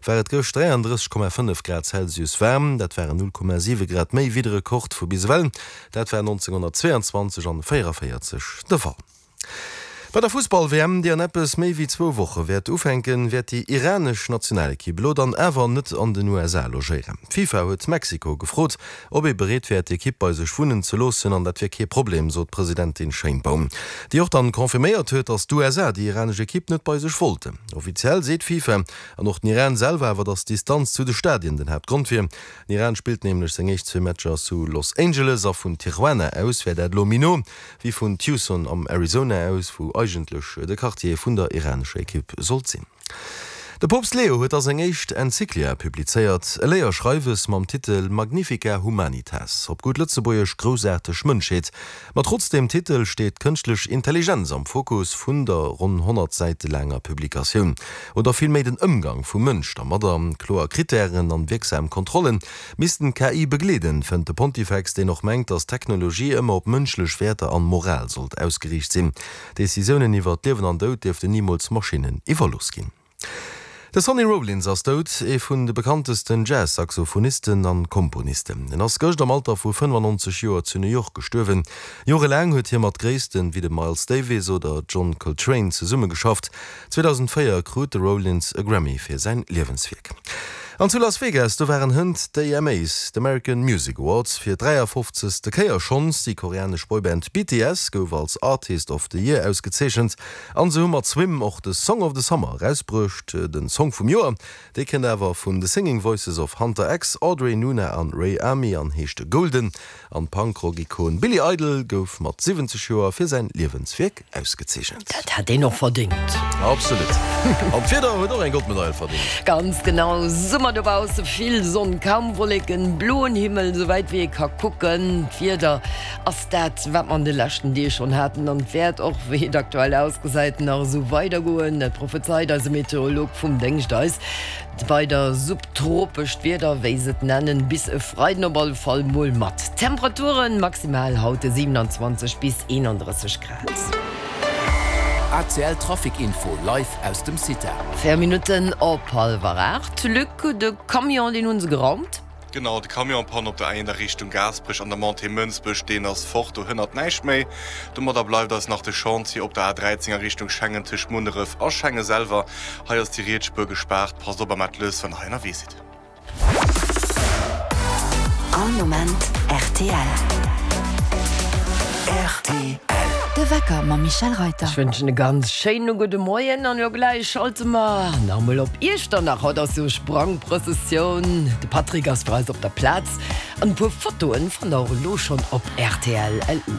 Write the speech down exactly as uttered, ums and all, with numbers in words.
war et gëscht dräiandrësseg Komma fënnef Grad Celsius waarm. Dat waren null Komma siwe Grad méi wéi de Rekord vu bis ewell. Dat war nonzénghonnertzweeanzwanzeg an véierunvéierzeg de Fall. Bei der Fussball-W M, déi an eppes méi wéi zwou Woche wäert ufänken, wäert déi iranesch Nationalekipp elo dann awer net an den U S A logéieren. D'FIFA huet Mexiko gefrot, ob ee bereet wär, d'Ekipp bei sech wunnen ze loossen, an dat wier kee Problem, sot d'Presidentin Sheinbaum, déi och dann confirméiert huet, datt d'U S A déi iranesch Ekipp net bei sech wollten. Offiziell seet d'FIFA an och den Iran selwer awer, datt d'Distanz zu de Stadien den Haaptgrond wier. Den Iran spillt nämlech seng éischt zwee Matcher zu Los Angeles a vun Tijuana aus wär dat elo méi no wéi vun Tucson am Arizona aus, wou eigentlech de Quartier vun der iranescher Ekipp sollt sinn. De Poopst Leo huet a seng éischt Enzyklia publizéiert, e Léierschreiwes mam Titel Magnifica Humanitas, op gutt Lëtzebuergesch Groussaarteg Mënschheet. Ma trotz deem Titel steet d'kënschtlech Intelligenz am Fokus vun der ronn honnert Säite laanger Publikatioun. Oder villméi den Ëmgang vum Mënsch dermadder. Kloer Krittären an wierksam Kontrollen missten d'K I begleeden, fënnt de Pontifex, deen och mengt, datt d'Technologie ëmmer op mënschlech Wäerter an Moral sollt ausgeriicht sinn. Decisiounen iwwer Liewen an Doud dierften nimools Maschinnen iwwerlooss ginn. De Sonny Rollins ass dout, ee vun de bekanntesten Jazz-Saxophonisten an Komponisten. En ass gëscht am Alter vu fënnefannonzeg Joer zu New York gestuerwen. Jorelaang huet hie mat Gréissten wéi dem Miles Davis oder John Coltrane zesummegeschafft. zweedausendvéier krut de Rollins e Grammy fir säin Liewenswierk. An zu Las Vegas, do waren hënt d'A M As, d'American Music Awards, fir dräiafofzegste Kéier schonns. Déi koreanesch Boyband B T S gouf als Artist of the Year ausgezeechent an se hu mat Swim och de Song of the Summer erausbruecht, den Song vum Joer. Dee kënnt awer vun The Singing Voices of Hunter X, Audrey Nuna an Ray Ami an heescht Golden. An d'Punk-Rock-Ikon Billy Idol gouf mat siwwenzeg Joer fir säin Liewenswierk ausgezeechent. Dat hätt een och verdéngt. Absolut. An d'Wieder huet och eng Goldmedail verdéngt. Ganz genau, Summer dobausse, vill Sonn, kaum Wolleken, bloen Himmel, souwäit wéi ee ka kucken. D'Wieder ass dat, wat mer an de leschten Deeg schonn haten an et wäert och, wéi et aktuell ausgesäit, nach esou weidergoen. Dat prophezeit eise Meteorolog vum Déngscht eis. Weider subtropescht Wieder, wéi se et nennen, bis e Freiden op alle Fall mol mat Temperaturen maximal haut siewenundzwanzeg bis eenandrësseg Grad. A C L Trafic Info live aus dem Cita. Véier Minutten op hallwer aacht. Luc, de Camion, deen hu se geraumt. Genau, de Camion-Panne op der A eent a Richtung Gaasperech an der Montée Mënsbech, deen ass fort, do hënnert näischt méi. Domadder bleift eis nach de Chantier op der A dräizéng a Richtung Schengen tëscht Munneref a Schengen selwer. Hei ass déi riets Spuer gespaart. Passt op a maacht lues, wann der hei ënnerwee sidd. All Moment R T L. R T L. De Wecker mam Michèle Reyter. Ech wënschen e ganz schéine gudde Moien an jo gläich schalte mer nach emol op Iechternach. Haut ass jo Sprangprëssessioun. De Patrick ass fir eis op der Plaz an e puer Fotoen fannt der och elo schonn op R T L L U.